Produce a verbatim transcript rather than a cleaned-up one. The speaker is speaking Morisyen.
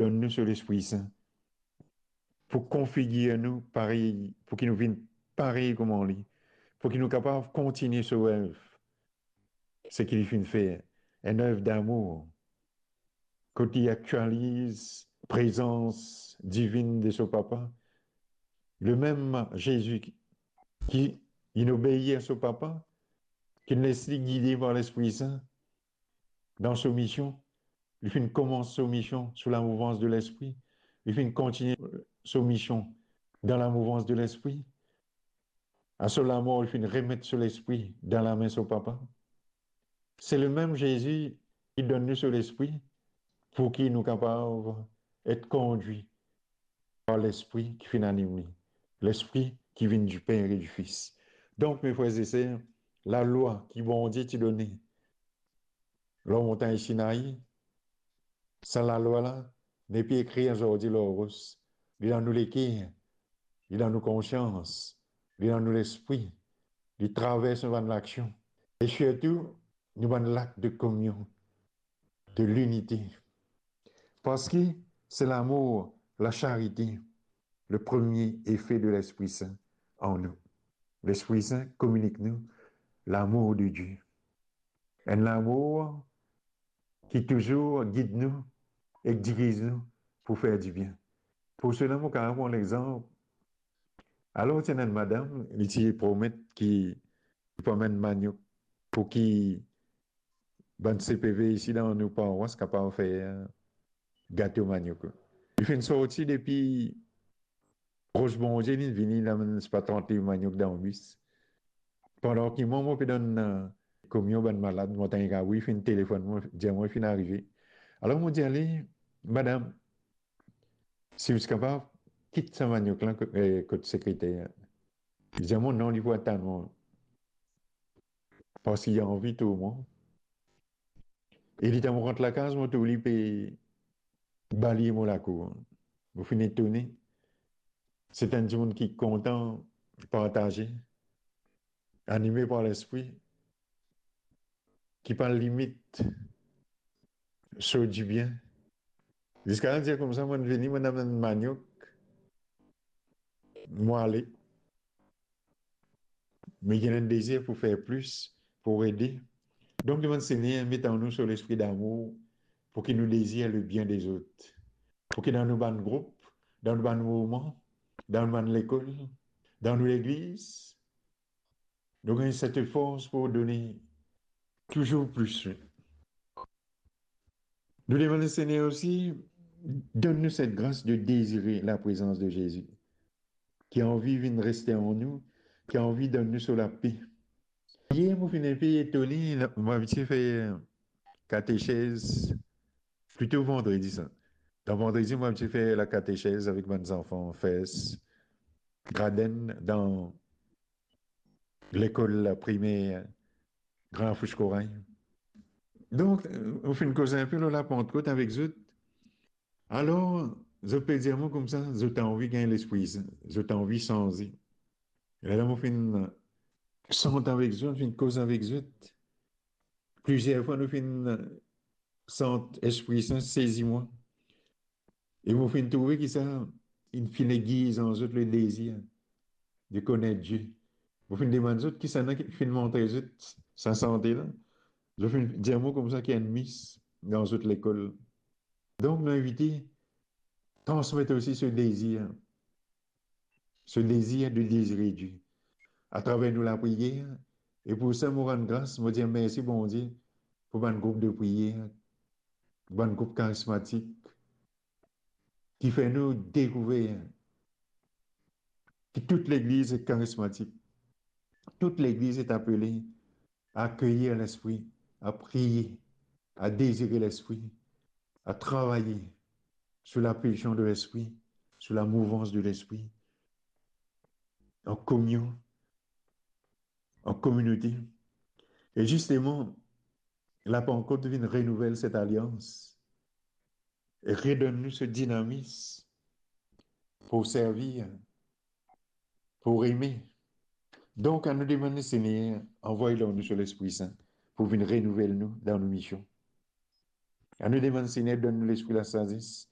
donn nou so Lespri Sin pou konfigir nou parey, pou ki nou vinn parey kouma li, pou ki nou kapav kontigne so ev, seki li finn fer, enn ev damour, kot li aktializ prezans divinn de so Papa. Lemem Zezi ki, ki inn obeir so Papa, ki inn les li gide par Lespri Sin dan so mision, li finn koumans so mision sou lamouvans de Lespri, li finn kontigne so mision dan lamouvans de Lespri. A so lamor, li finn remet so lespri dan lame so Papa. Se lemem Zezi ki donn nou so Lespri pou ki nou kapav et kondwi par Lespri ki finn anim li, Lespri ki vinn di Per e di Fis. Donk, me frer e ser, lalwa ki Bondie ti done lor montagn Sinai, sa lalwa la nepli ekrir zordi lor ros, li dan nou leker, li dan nou konsians, li dan nou lespri, li travers nou bann laksion. E sirtou, nou bann lak de kominyon, de linite. Parski se lamour, lasarite, le premie efe de Lespri Sin an nou. Lespri Sin kominik nou lamour de Die. Enn lamour ki touzour gid nou ek diriz nou pou fer dibien. Pou sela, mo kapav pran lexanp. Alor, ti ena enn madam, li ti promet ki li pou amenn maniok pou ki bann C P V isi dan nou parwas kapav fer gato maniok. Li finn sorti depi Ros Bondie, li vini, li amenn sepa trant liv maniok dan bis. Pandan ki mwa, mo pe donn, eh, kominyon bann malad, mo tann enn kawi finn telefonn mwa, dir mwa li finn arive. Alor mo dir li, "Madam, si ou ti kapav, kit sa maniok la ko-, eh, kot sekreter." Li dir mwa, "Non, li pou atann mwa." Parski li anvi tour mwa. E letan mo rant lakaz, mo trouv li pe balye mo lakour. Mo finn etone. Se enn dimoun ki kontan partaze, anime par Lespri, ki pa limit so dibien. Ziska dir koumsa, mo vini, mo amenn maniok, mo ale. Me li ena enn dezir pou fer plis, pou ede. Donk, demann Segner met an nou so lespri damour, pou ki nou dezir lebien dezot. Pou ki dan nou bann group, dan nou bann mouvman, dan nou bann lekol, dan nou legliz, nou gagn set fors pou done touzour plis. Nou demann Segner osi, donn nou set gras de dezire laprezans de Zezi, ki anvi vinn reste an nou, ki anvi donn nou so lape. Yer, mo finn enpe etone, mo abitie fer katechez, plito vandredi sa. Dan vandredi, mo abitie fer lakatechez avek bann zanfan First, Grad enn, dan lekol primer Gran Fous Koray. Donk, mo finn koz enpe lor Lapantkot avek zot. Alor, zot pe dir mwa koumsa, zot anvi gagn Lespri Sin, zot anvi sanze. E la, mo finn sant avek zot, finn koz avek zot. Plizier fwa nou finn sant Lespri Sin sezi mwa. E mo finn trouve ki sa, inn finn egzit an zot le dezir de konet Die. Mo finn demann zot kisannla ki finn montre zot sa sante la. Zot finn dir mwa koumsa ki enn mis dan zot lekol. Donk, nou invite, transmet osi se dezir, se dezir de dezire Die atraver nou lapriyer. E pou sa, mo rann gras, mo dir mersi Bondie pou bann group de priyer, bann group karismatik, ki fer nou dekouver ki tout legliz est karismatik. Tout legliz est apele a akeyir Lespri, a priye, a dezire Lespri, a travay sou lapilsion de Lespri, sou lamouvans de Lespri, an kominyon, an kominote. E zisteman, Lapantkot vinn renouvel set alians e redonn nou se dinamis pou servi, pou eme. Donk, anou demann Segner anvoy lor nou so Lespri Sin pou vinn renouvel nou dan nou mision. Anou demann Segner donn nou lespri lasazes,